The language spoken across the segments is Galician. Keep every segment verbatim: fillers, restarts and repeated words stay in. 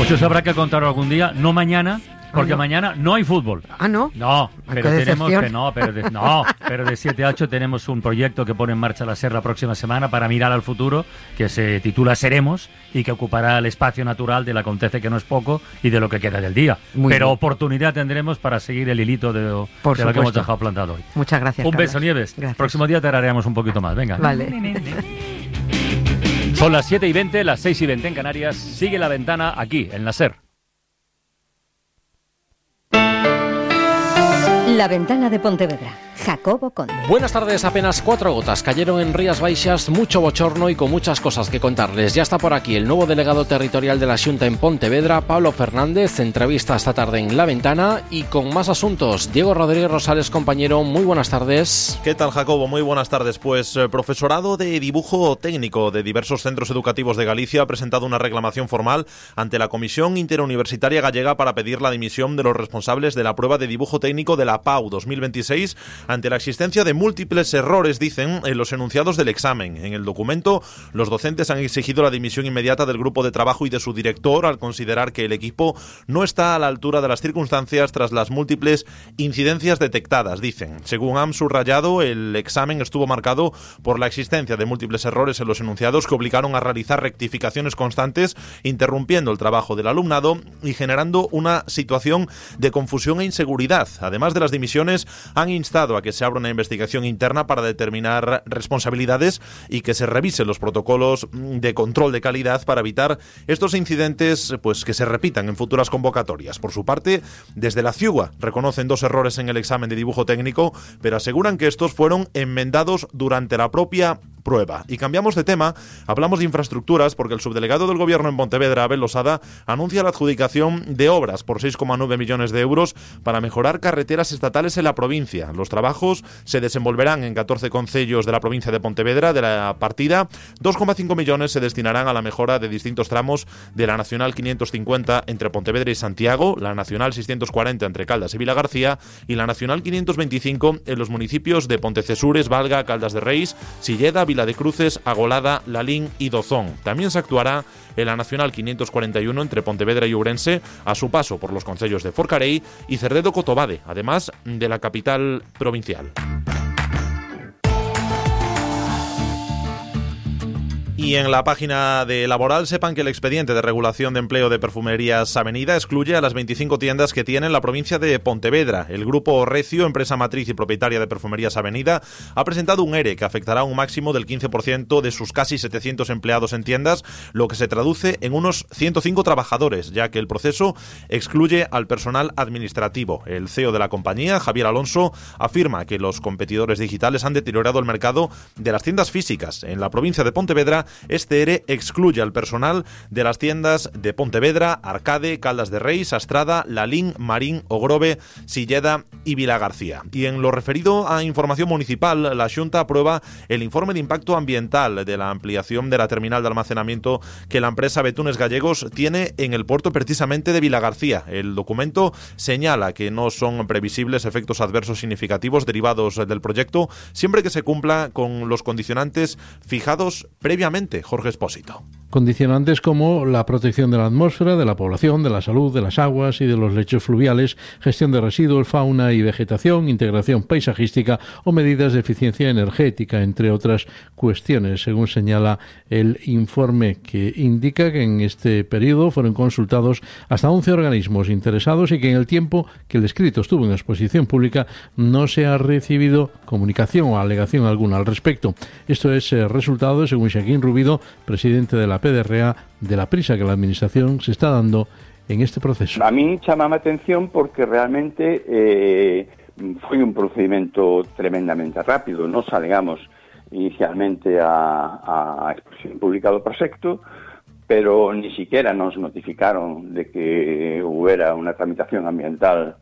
Pues eso habrá que contarlo algún día, no mañana, porque ah, no. mañana no hay fútbol. Ah, ¿no? No, Ay, pero qué tenemos decepción. que no, pero de, no, pero de siete a ocho tenemos un proyecto que pone en marcha la SER la próxima semana para mirar al futuro, que se titula Seremos y que ocupará el espacio natural del acontece que no es poco y de lo que queda del día. Muy pero bien. Oportunidad tendremos para seguir el hilito de, de lo que hemos dejado plantado hoy. Muchas gracias. Un Carlos. beso, Nieves. Gracias. Próximo día te haremos un poquito más. Venga. Vale. Son las siete y veinte, las seis y veinte en Canarias. Sigue La Ventana aquí, en la SER. La Ventana de Pontevedra. Jacobo Conde. Buenas tardes, apenas cuatro gotas cayeron en Rías Baixas, mucho bochorno y con muchas cosas que contarles. Ya está por aquí el nuevo delegado territorial de la Xunta en Pontevedra, Pablo Fernández, entrevista esta tarde en La Ventana y con más asuntos. Diego Rodríguez Rosales, compañero, muy buenas tardes. ¿Qué tal, Jacobo? Muy buenas tardes. Pues eh, profesorado de dibujo técnico de diversos centros educativos de Galicia ha presentado una reclamación formal ante la Comisión Interuniversitaria Gallega para pedir la dimisión de los responsables de la prueba de dibujo técnico de la P A U dos mil veintiséis ante la existencia de múltiples errores, dicen, en los enunciados del examen. En el documento, los docentes han exigido la dimisión inmediata del grupo de trabajo y de su director al considerar que el equipo no está a la altura de las circunstancias tras las múltiples incidencias detectadas, dicen. Según han subrayado, el examen estuvo marcado por la existencia de múltiples errores en los enunciados que obligaron a realizar rectificaciones constantes, interrumpiendo el trabajo del alumnado y generando una situación de confusión e inseguridad. Además de las dimisiones, han instado a que se abra una investigación interna para determinar responsabilidades y que se revisen los protocolos de control de calidad para evitar estos incidentes, pues, que se repitan en futuras convocatorias. Por su parte, desde la CIUA reconocen dos errores en el examen de dibujo técnico, pero aseguran que estos fueron enmendados durante la propia prueba. Y cambiamos de tema, hablamos de infraestructuras porque el subdelegado del Gobierno en Pontevedra, Abel Losada, anuncia la adjudicación de obras por seis coma nueve millones de euros para mejorar carreteras estatales en la provincia. Los trabajos se desenvolverán en catorce concellos de la provincia de Pontevedra. De la partida, dos coma cinco millones se destinarán a la mejora de distintos tramos de la Nacional quinientos cincuenta entre Pontevedra y Santiago, la Nacional seiscientos cuarenta entre Caldas y Vilagarcía y la Nacional quinientos veinticinco en los municipios de Pontecesures, Valga, Caldas de Reis, Silleda, Vila de Cruces, Agolada, Lalín y Dozón. También se actuará en la Nacional quinientos cuarenta y uno entre Pontevedra y Ourense a su paso por los concellos de Forcarei y Cerredo-Cotobade, además de la capital provincial. Y en la página de Laboral sepan que el expediente de regulación de empleo de Perfumerías Avenida excluye a las veinticinco tiendas que tiene la provincia de Pontevedra. El grupo Recio, empresa matriz y propietaria de Perfumerías Avenida, ha presentado un ERE que afectará a un máximo del quince por ciento de sus casi setecientos empleados en tiendas, lo que se traduce en unos ciento cinco trabajadores, ya que el proceso excluye al personal administrativo. El C E O de la compañía, Javier Alonso, afirma que los competidores digitales han deteriorado el mercado de las tiendas físicas. En la provincia de Pontevedra, este ERE excluye al personal de las tiendas de Pontevedra, Arcade, Caldas de Reis, Astrada, Lalín, Marín, Ogrove, Silleda y Vilagarcía. Y en lo referido a información municipal, la Xunta aprueba el informe de impacto ambiental de la ampliación de la terminal de almacenamiento que la empresa Betunes Gallegos tiene en el puerto precisamente de Vilagarcía. El documento señala que no son previsibles efectos adversos significativos derivados del proyecto, siempre que se cumpla con los condicionantes fijados previamente. Jorge Espósito. Condicionantes como la protección de la atmósfera, de la población, de la salud, de las aguas y de los lechos fluviales, gestión de residuos, fauna y vegetación, integración paisajística o medidas de eficiencia energética, entre otras cuestiones, según señala el informe, que indica que en este periodo fueron consultados hasta once organismos interesados y que en el tiempo que el escrito estuvo en exposición pública no se ha recibido comunicación o alegación alguna al respecto. Esto es eh, resultado, según Xaquín Rubido, presidente de la P D R A, de la prisa que la Administración se está dando en este proceso. A mí chamame a atención porque realmente eh, foi un procedimento tremendamente rápido. Nos alegamos inicialmente a, a exposición pública do proxecto, pero ni siquiera nos notificaron de que hubiera una tramitación ambiental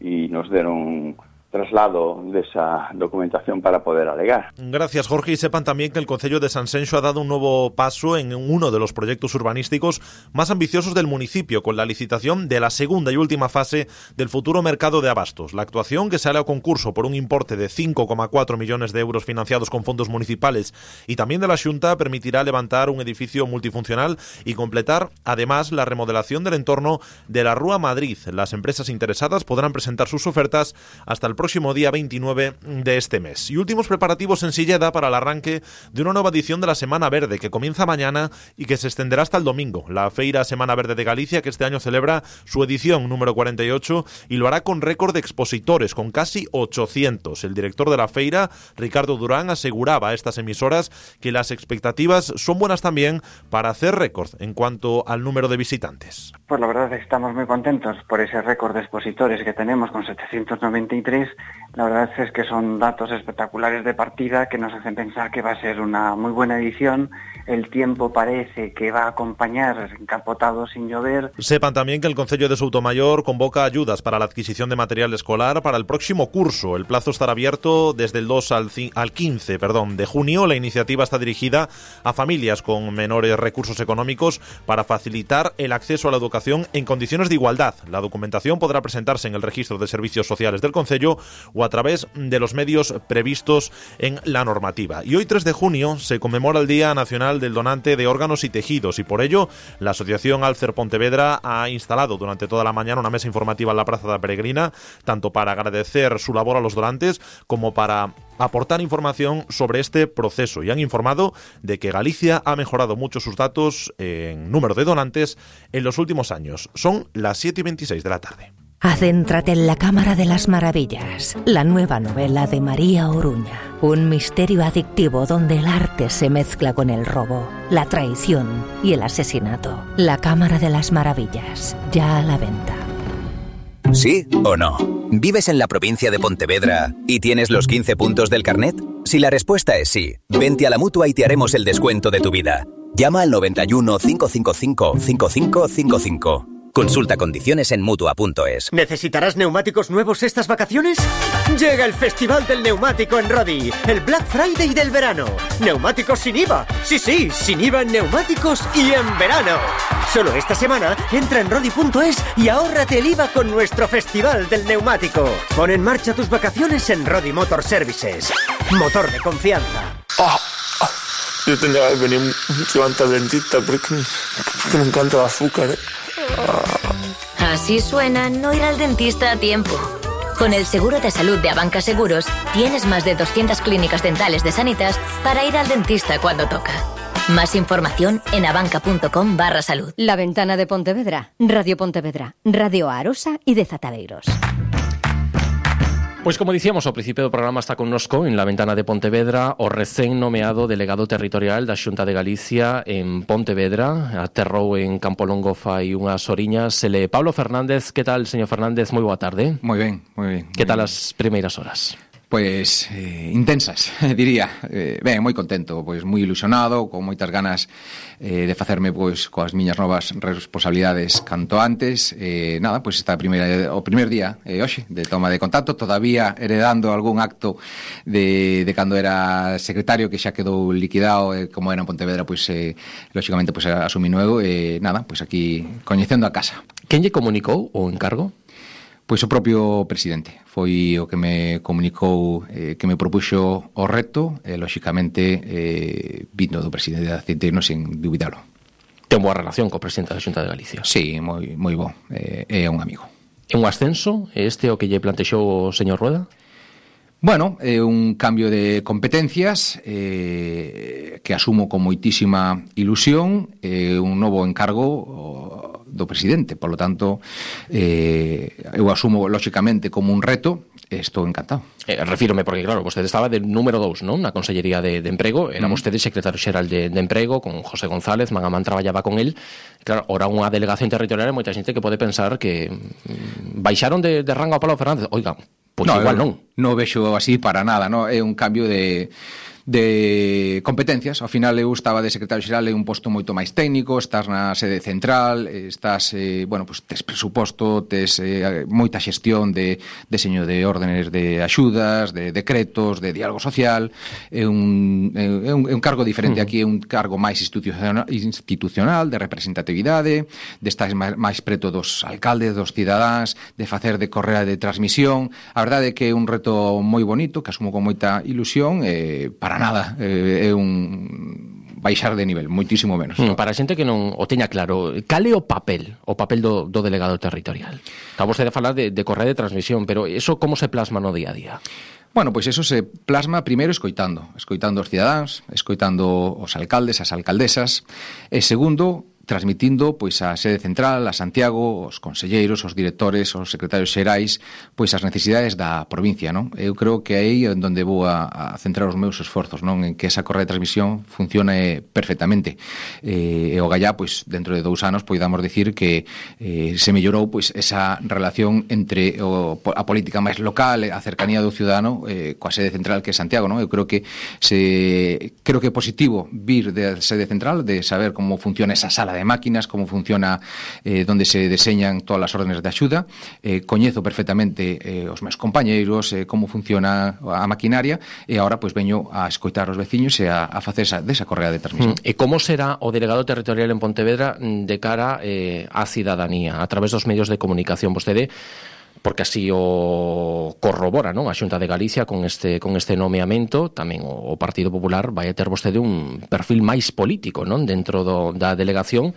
y nos deron traslado de esa documentación para poder alegar. Gracias, Jorge. Y sepan también que el Concello de Sanxenxo ha dado un nuevo paso en uno de los proyectos urbanísticos más ambiciosos del municipio, con la licitación de la segunda y última fase del futuro mercado de abastos. La actuación, que sale a concurso por un importe de cinco coma cuatro millones de euros financiados con fondos municipales y también de la Xunta, permitirá levantar un edificio multifuncional y completar además la remodelación del entorno de la Rúa Madrid. Las empresas interesadas podrán presentar sus ofertas hasta el próximo día veintinueve de este mes. Y últimos preparativos en Silleda para el arranque de una nueva edición de la Semana Verde, que comienza mañana y que se extenderá hasta el domingo. La Feira Semana Verde de Galicia, que este año celebra su edición número cuarenta y ocho y lo hará con récord de expositores, con casi ochocientos. El director de la feira, Ricardo Durán, aseguraba a estas emisoras que las expectativas son buenas también para hacer récord en cuanto al número de visitantes. Pues la verdad es que estamos muy contentos por ese récord de expositores que tenemos con setecientos noventa y tres. La verdad es que son datos espectaculares de partida que nos hacen pensar que va a ser una muy buena edición. El tiempo parece que va a acompañar encapotado sin llover. Sepan también que el Concello de Soutomayor convoca ayudas para la adquisición de material escolar para el próximo curso. El plazo estará abierto desde el dos al quince perdón, de junio. La iniciativa está dirigida a familias con menores recursos económicos para facilitar el acceso a la educación en condiciones de igualdad. La documentación podrá presentarse en el registro de servicios sociales del Concello o a través de los medios previstos en la normativa. Y hoy, tres de junio, se conmemora el Día Nacional del Donante de Órganos y Tejidos, y por ello la Asociación Alcer Pontevedra ha instalado durante toda la mañana una mesa informativa en la Plaza da Peregrina, tanto para agradecer su labor a los donantes como para aportar información sobre este proceso, y han informado de que Galicia ha mejorado mucho sus datos en número de donantes en los últimos años. Son las siete y veintiséis de la tarde. Adéntrate en la Cámara de las Maravillas, la nueva novela de María Oruña. Un misterio adictivo donde el arte se mezcla con el robo, la traición y el asesinato. La Cámara de las Maravillas, ya a la venta. ¿Sí o no? ¿Vives en la provincia de Pontevedra y tienes los quince puntos del carnet? Si la respuesta es sí, vente a la Mutua y te haremos el descuento de tu vida. Llama al noventa y uno, cinco cinco cinco, cinco cinco cinco cinco. Consulta condiciones en Mutua punto es. ¿Necesitarás neumáticos nuevos estas vacaciones? Llega el Festival del Neumático en Rodi, el Black Friday del verano. Neumáticos sin I V A. Sí, sí, sin I V A en neumáticos y en verano. Solo esta semana entra en Rodi punto es y ahórrate el I V A con nuestro Festival del Neumático. Pon en marcha tus vacaciones en Rodi Motor Services. Motor de confianza. Oh, oh. Yo tenía que venir mucho antes al dentista porque, porque me encanta el azúcar, ¿eh? Así suena no ir al dentista a tiempo. Con el seguro de salud de Abanca Seguros tienes más de doscientas clínicas dentales de Sanitas para ir al dentista cuando toca. Más información en abanca.com barra salud. La Ventana de Pontevedra, Radio Pontevedra, Radio Arosa y de Zatadeiros. Pois como dicíamos ao principio do programa, está connosco en la Ventana de Pontevedra o recén nomeado delegado territorial da Xunta de Galicia en Pontevedra. Aterrou en Campolongo fai unhas horiñas. Ele Pablo Fernández. Que tal, señor Fernández? Moi boa tarde. Moi ben, moi ben. Que tal as primeiras horas? Pois eh, intensas, diría. Eh, ben, moi contento, pois moi ilusionado, con moitas ganas eh, de facerme pois coas miñas novas responsabilidades canto antes. Eh, nada, pois esta primeira o primer día eh, hoxe de toma de contacto, todavía heredando algún acto de, de cando era secretario que xa quedou liquidado, eh, como era en Pontevedra, pois eh, lógicamente pois asumí nuevo, e eh, nada, pois aquí coñecendo a casa. Quen lle comunicou o encargo? Pois o propio presidente foi o que me comunicou, eh, que me propuxo o reto, e, lógicamente, eh, vindo do presidente de Aceiteiros sen dubidalo. Ten boa relación co presidente da Xunta de Galicia? Sí, moi, moi bo, eh, é un amigo. É un ascenso este o que lle plantexou o señor Rueda? Bueno, é un cambio de competencias eh, que asumo con moitísima ilusión, é eh, un novo encargo do presidente, por lo tanto eh, eu asumo lógicamente como un reto e estou encantado. Eh, refírome porque claro, vostede estaba de número dous, non? Na Consellería de, de Emprego, era mm. vostede secretario xeral de, de Emprego con José González, Magamán traballaba con el. Claro, ora unha delegación territorial, moita xente que pode pensar que mm, baixaron de, de rango a Pablo Fernández. Oiga, pois no, igual non. Non vexo así para nada, no? É un cambio de de competencias. Ao final eu estaba de secretario xeral en un posto moito máis técnico, estás na sede central, estás, eh, bueno, pues tes presuposto, tes eh, moita xestión de deseño de órdenes de axudas, de decretos, de diálogo social. É un, é un, é un cargo diferente. Aquí é un cargo máis institucional, institucional de representatividade, de estar máis, máis preto dos alcaldes, dos cidadáns, de facer de correa de transmisión. A verdade é que é un reto moi bonito, que asumo con moita ilusión, eh, para nada, eh, é un baixar de nivel, moitísimo menos. Mm, para a xente que non o teña claro, cal é o papel, o papel do, do delegado territorial? Acabo vostede de falar de, de correa de transmisión, pero eso como se plasma no día a día? Bueno, pois eso se plasma primeiro escoitando, escoitando os cidadáns, escoitando os alcaldes, as alcaldesas, e segundo, transmitindo pois a sede central, a Santiago, os conselleiros, os directores, os secretarios xerais, pois as necesidades da provincia, non? Eu creo que aí é onde vou a, a centrar os meus esforzos, non? En que esa correa de transmisión funcione perfectamente. Eh, e o gallá, pois, dentro de dous anos, poidamos dicir que eh, se mellorou pois esa relación entre o, a política máis local, a cercanía do ciudadano, eh, coa sede central que é Santiago, non? Eu creo que se creo que é positivo vir da sede central, de saber como funciona esa sala de máquinas, como funciona eh, donde se deseñan todas as órdenes de axuda. Eh, coñezo perfectamente eh, os meus compañeiros, eh, como funciona a maquinaria, e agora pois veño a escoitar os veciños e a, a facer esa, desa correa de transmisión. Mm. E como será o delegado territorial en Pontevedra de cara eh, á cidadanía, a través dos medios de comunicación? Vostede, porque así o corrobora, non? A Xunta de Galicia con este con este nomeamento, tamén o, o Partido Popular vai a ter vostede un perfil máis político, non? Dentro do, da delegación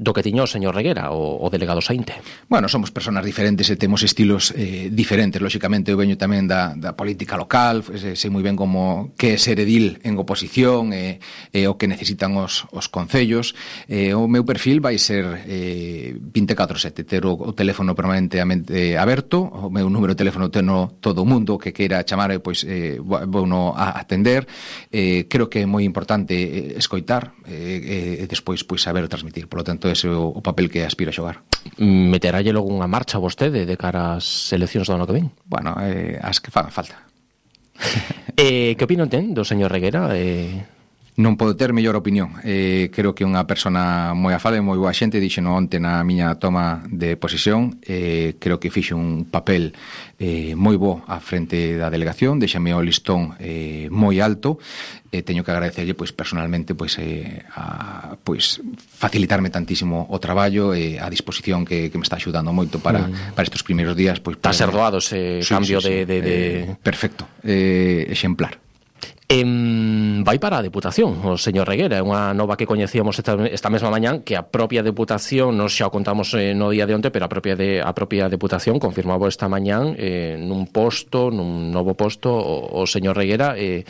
do que tiño o señor Reguera, o, o delegado Saínte. Bueno, somos personas diferentes e temos estilos eh, diferentes. Lóxicamente, eu veño tamén da, da política local, sei, sei moi ben como que é ser edil en oposición e, e o que necesitan os, os concellos. Eh, o meu perfil vai ser eh, veinticuatro sete, ter o, o teléfono permanentemente aberto, o meu número de teléfono teno todo o mundo que queira chamar, pois eh, vou no a atender. Eh, creo que é moi importante escoitar e eh, eh, despois pois saber transmitir. Por lo tanto, ese é o papel que aspiro a xogar. Meterálle logo unha marcha vostede de cara ás eleccións do ano que ven? Bueno, eh, as que fagan falta. eh, que opinión ten do señor Reguera? Eh... Non podo ter mellor opinión. Eh, creo que é unha persona moi afable, moi boa xente, dixeno onte na miña toma de posesión. Eh, creo que fixe un papel eh, moi bo á frente da delegación, deixame o listón eh, moi alto. Eh, teño que agradecerlle pois personalmente pois eh, a pois facilitarme tantísimo o traballo e eh, a disposición que, que me está axudando moito para mm. para estes primeiros días, pois está ser doado ese sí, cambio sí, sí. de, de, de... Eh, perfecto, eh, exemplar. En, vai para a Deputación o señor Reguera, é unha nova que coñecíamos esta, esta mesma mañán, que a propia Deputación, nos xa o contamos eh, no día de onte, pero a propia de, a propia Deputación confirmaba esta mañán eh, nun posto, nun novo posto o, o señor Reguera. eh,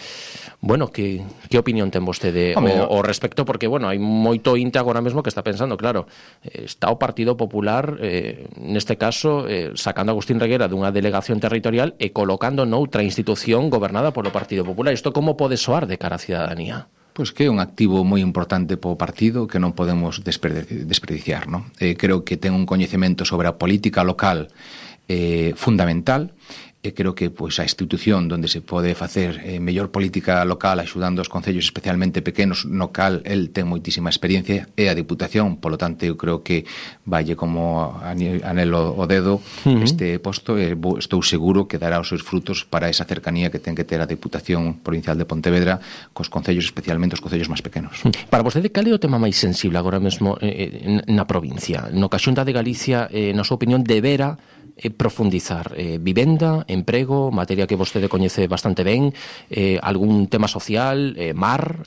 bueno, que, que opinión ten vostede o, o respecto? Porque, bueno, hai moito inte agora mesmo que está pensando, claro, eh, está o Partido Popular eh, neste caso eh, sacando a Agustín Reguera dunha delegación territorial e colocando noutra institución gobernada polo Partido Popular. Isto como pode soar de cara á cidadanía? Pois que é un activo moi importante po partido que non podemos desperdiciar, non? Eh, creo que ten un coñecemento sobre a política local eh, fundamental. E creo que pois a institución onde se pode facer eh, mellor política local axudando os concellos especialmente pequenos, no cal el ten moitísima experiencia, é a Diputación. Polo tanto, eu creo que valle como anelo o dedo uh-huh. este posto e estou seguro que dará os seus frutos para esa cercanía que ten que ter a Diputación Provincial de Pontevedra cos concellos, especialmente os concellos máis pequenos. Para vostede, cal é o tema máis sensible agora mesmo eh, na provincia? No que a Xunta de Galicia, eh, na súa opinión, debera eh, profundizar eh, vivenda, emprego, materia que vostede coñece bastante ben, eh, algún tema social, eh, mar...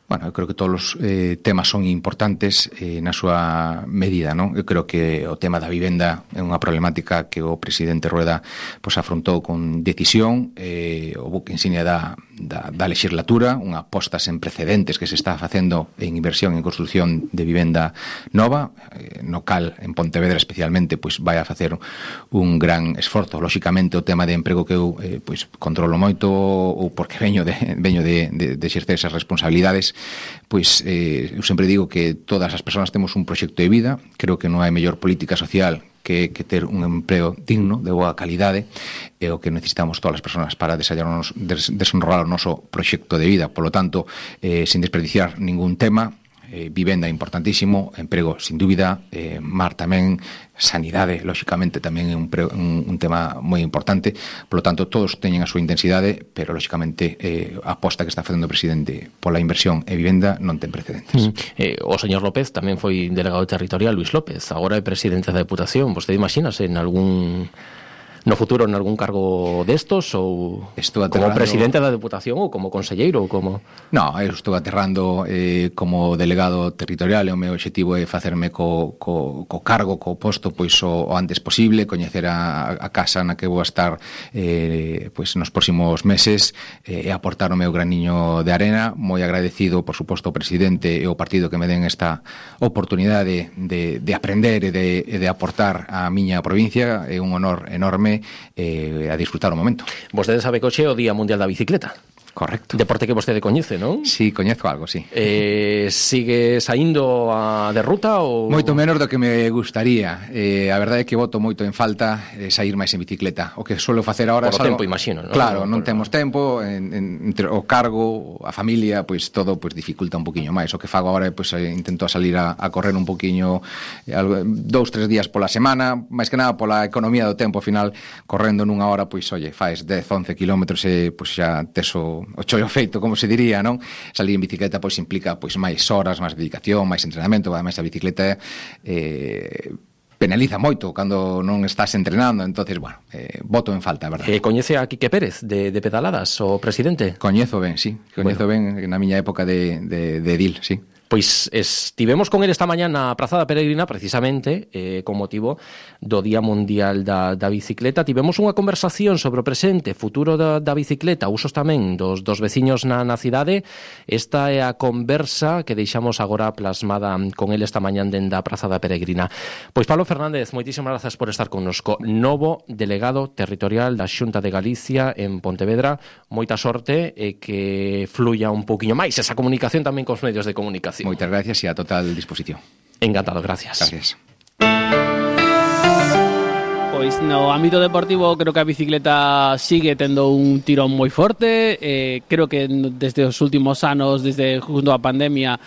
Bueno, eu creo que todos os eh, temas son importantes eh, na súa medida, non? Eu creo que o tema da vivenda é unha problemática que o presidente Rueda pois, afrontou con decisión, eh, o buque insignia da, da, da legislatura, unha aposta sen precedentes que se está facendo en inversión en construción de vivenda nova, eh, no cal, en Pontevedra especialmente, pois vai a facer un gran esforzo. Lóxicamente, o tema de emprego que eu eh, pois, controlo moito, ou porque veño de, veño de, de, de exercer esas responsabilidades, pois eh, eu sempre digo que todas as persoas temos un proxecto de vida. Creo que non hai mellor política social que, que ter un empreo digno, de boa calidade, é o que necesitamos todas as persoas para desenrolar o noso proxecto de vida. Por lo tanto, eh, sin desperdiciar ningún tema, eh, vivenda importantísimo, emprego sin dúbida, eh, mar tamén, sanidade, lóxicamente, tamén é un, pre, un, un tema moi importante. Por lo tanto, todos teñen a súa intensidade, pero, lóxicamente, eh, a aposta que está facendo o presidente pola inversión e vivenda non ten precedentes. Mm. Eh, o señor López tamén foi delegado territorial, Luis López, agora é presidente da Deputación. Vostede imagínase en algún... no futuro en algún cargo destos ou como presidente da Deputación ou como conselleiro ou como... No, eu estou aterrando eh, como delegado territorial e o meu objetivo é facerme co, co, co cargo, co posto pois o, o antes posible, coñecer a, a casa na que vou estar eh, pois nos próximos meses eh, e aportar o meu graniño de arena. Moi agradecido, por suposto, ao presidente e ao partido que me den esta oportunidade de, de aprender e de, de aportar á miña provincia. É un honor enorme eh, a disfrutar o momento. Vostede sabe que hoxe é o Día Mundial da Bicicleta. Correcto. Deporte que vostede coñece, non? Sí, coñezo algo, sí. Eh, sigue saindo a de ruta ou... Moito menos do que me gustaría. Eh, a verdade é que boto moito en falta eh, sair máis en bicicleta. O que suelo facer agora... Por o tempo, imagino, non? Claro, non, non temos tempo, en, en, entre o cargo, a familia, pois todo pois dificulta un poquinho máis. O que fago agora é pois intento salir a, a correr un poquinho eh, dous, tres días pola semana, máis que nada pola economía do tempo. Ao final, correndo nunha hora, pois, oye, faes dez, once kilómetros e pois xa teso o chollo feito, como se diría, non? Salir en bicicleta pois implica pois máis horas, máis dedicación, máis entrenamento. Ademais, a bicicleta eh, penaliza moito cando non estás entrenando. Entonces, bueno, eh, voto en falta, verdade. Eh, coñece a Quique Pérez de, de Pedaladas, o presidente? Coñezo ben, sí. Coñezo bueno. ben na miña época de, de, de edil, sí. Pois estivemos con ele esta mañá na Praza da Peregrina, precisamente, eh, con motivo do Día Mundial da, da Bicicleta. Tivemos unha conversación sobre o presente, futuro da, da bicicleta, usos tamén dos, dos veciños na, na cidade. Esta é a conversa que deixamos agora plasmada con ele esta mañá dende a Praza da Peregrina. Pois Pablo Fernández, moitísimas grazas por estar connosco. Novo delegado territorial da Xunta de Galicia en Pontevedra. Moita sorte e que fluya un pouquiño máis esa comunicación tamén cos medios de comunicación. Moitas gracias e a total disposición. Encantado, gracias. Gracias. Pois no ámbito deportivo creo que a bicicleta sigue tendo un tirón moi forte. Eh, creo que desde os últimos anos, desde junto á pandemia,